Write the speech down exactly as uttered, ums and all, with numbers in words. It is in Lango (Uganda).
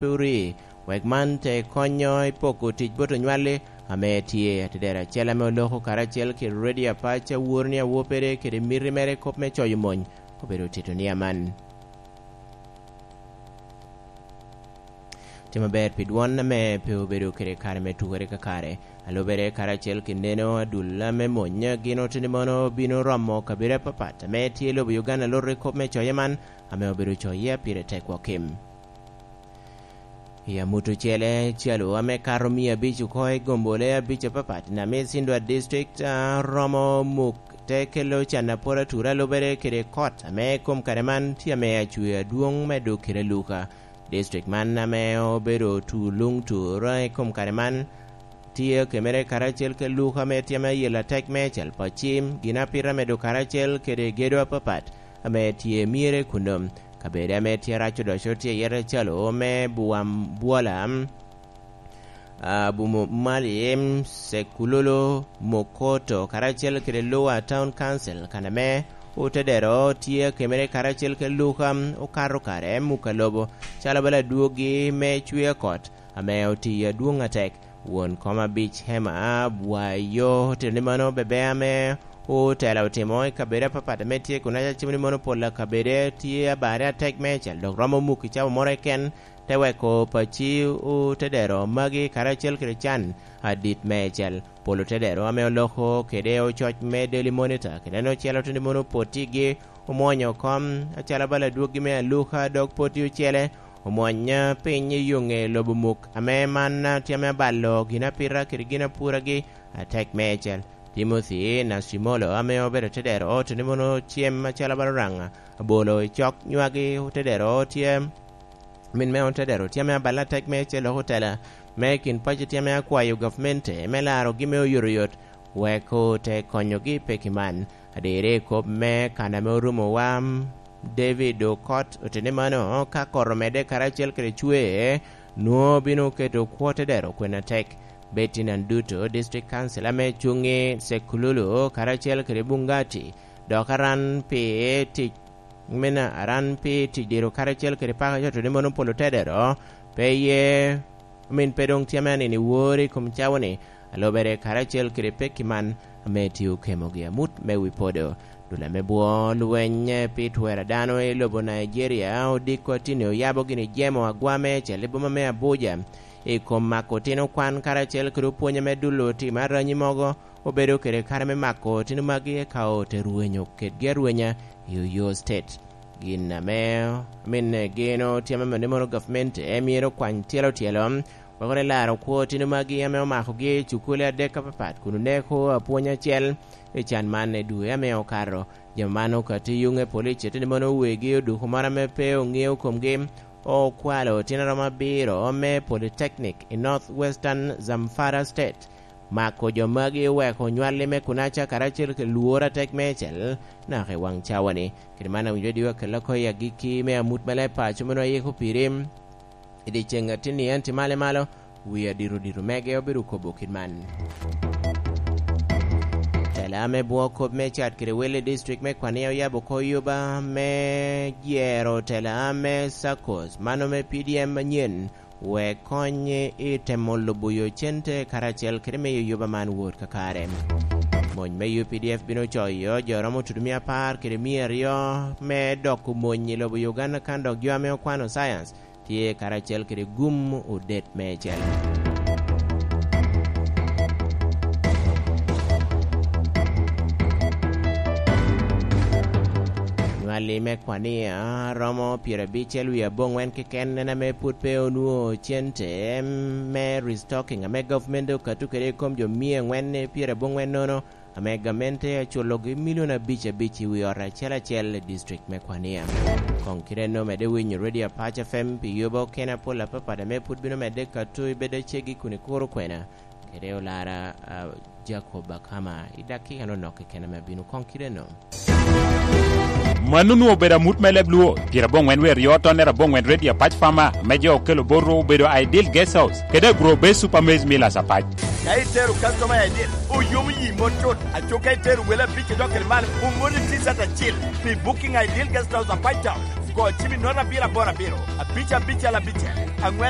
ori, wek man te konyo i poko tic bot onywalli ame tye. Atedero acel ame oloko karacel kede Ready Apac, aworo ni awoppere kede miti mere i kop me coyo mony obedo tito ni aman. Tye maber pi dwon ame pe obedo kede kare me tukere kakare. Alubere karacel ki neno, adula me mony gin oteni mono bino romo kabedo apapat ame tye i lobo Uganda, loro i kop me coye man ame obedo coye pire tek wa kim. I amut ocele, calo ame kato mia abic oko i gombole abic apapat, Namisi Ndwa District, a, romo muk te kelo can apol atura lubere kede kot ame i kom kare man tye ame acwe adwoŋ me dok kede aluka. District man ame obedo tu luŋ tur i kom kare man tye okemere karacel ki luka ame tye ame ayela tek meicel pa cim, gin apita medo karacel kede gedo apapat ame tye myere kuno. Kabedo ame tye rac odoco tye iye calo me Buwam Bwola, Abumo Malim, Sekulolo, Mokoto, karacel kede Lower Town Council, kan ame otedero tye akemere karacel kede luka okato kare muka lobo, calo bala adwogi me cwer kot ame otiyo adwoŋ atek. Won kom abic Hema Bwayo otito ni mano bebe ame otela otimo i kabedo apapat ame tye kun acimo ni mono pol a kabede tye abare atek meicel, dok romo muk i cawa moro keken, te weko paci otedero magi karacel kede can adit meicel. Pol otedero ame oloko kede ococ me Daily Monitor kede en ocel otito ni mono potigi omwonyo kom acalo bala adwoggi me aluka, dok poti ocele omwony piny i yoŋe lobo muk ame man tye ame abalo gin apita kede gin apuragi atek meicel. Timothy Nacimolo ame obedo tedero otito ni mono cem acalo bala Oraŋ abolo i cok nywagi otedero tye, min me otedero tye ame abalo atek meicel dok otela me kin paco tye ame akwayo gavmente me larogi me oyotoyot wek ote konyogi i peki man. Adirre i kop me kan ame orumo wa, David Okot oteni mano, ka kot omedde karacel kede cwer, nwoŋo bino keto kwo te dero kwen atek. Betty Nanduto, District Council ame cuŋ i Sekululu karacel kede Bungati, dok aran pi tic, min aran pi tic diro karacel kede paka coto ni mono polo te dero, pe ye Omin pe doŋ tye ame anino i wor i kom cawa-ni, alubere karacel kede pekki man ame tye okemogi amut me wi podo. Dul ame bwo lweny pi twero a dano i lobo Nigeria odiko atini oyabo gini jemo agwa meicel i boma me Abuja i kom mako otino kwan karacel kede opwony ame dul otimo aranyi mogo obedo kede kare me mako otino magi eka ote rwenyo kedgi arwenya i Oyo State. Gin ame, amin, geno tye ame mano mono gavment myero okwany tyelo tyelo, wek one laro kwo otino magi ame omakogi i cukule adek apapat kun oneko apwony acel i can man i dwe ame okato. Jami man okati yuŋe police teni mono wegi oduko moro ame pe oŋeo komgi okwalo otino romo abiro me Polytechnic i North Western Zamfara State. Mako jo magi oweko onywalli me Kunaca karacel kede lworo atek meicel naka i waŋ cawa-ni. Kede man awinyo diwa kella oko i agikki me amut me leb paco meno ayiko piri. I dyeceŋ atinni en tye malo malo, wi adito dito mege obedo kobo kit man. Tela me bwo kop me cat kede wel i district me Kwania oyabo oko yuba me jero tela me SACCOS, mano me P D M manyen, wek kony i temo lubo yo cente karacel kede miyo yuba man wot kakare. Mony me U P D F bino coyo jo romo tutumia apar kede mia aryo me doko mony i lobo Uganda kan dok jo ame okwano science tye karacel kede gum odet meicel. Nywalli me Kwania romo pyerabicel wie aboŋwen keken en ame pwod pe onwoŋo cente me restocking ame government okato kede i kom jo mia angwen pyeraboŋwen nono, ame gamente aculogi milion abic abic i wi ot acel acel i district me Kwania. Koŋ kite en omedde winyo Radio Apac F M pi yoba okene apol apapat ame pwod bino medde kato i bedo acegi kun i kuro kwena kede olara, a, Jacob Akama i dakika nonok keken ame abino. Koŋ kite en. Mano onwoŋo obedo amut me leb Luo, pyeraboŋwen wer yo tonnere aboŋwen Radio Apac Farmer, me jo okelo bot ru obedo Ideal Guest House, kede Agro Base Super Maize Millers Apac. Ka itero customer Ideal, oyomo yi mot cut, aco ka itero wele abic idok kede malo, omoni T-shirt acil pi Booking Ideal Guest House Apac Town. Go cim i note abiro aboro abiro, abic abicel abicel, angwen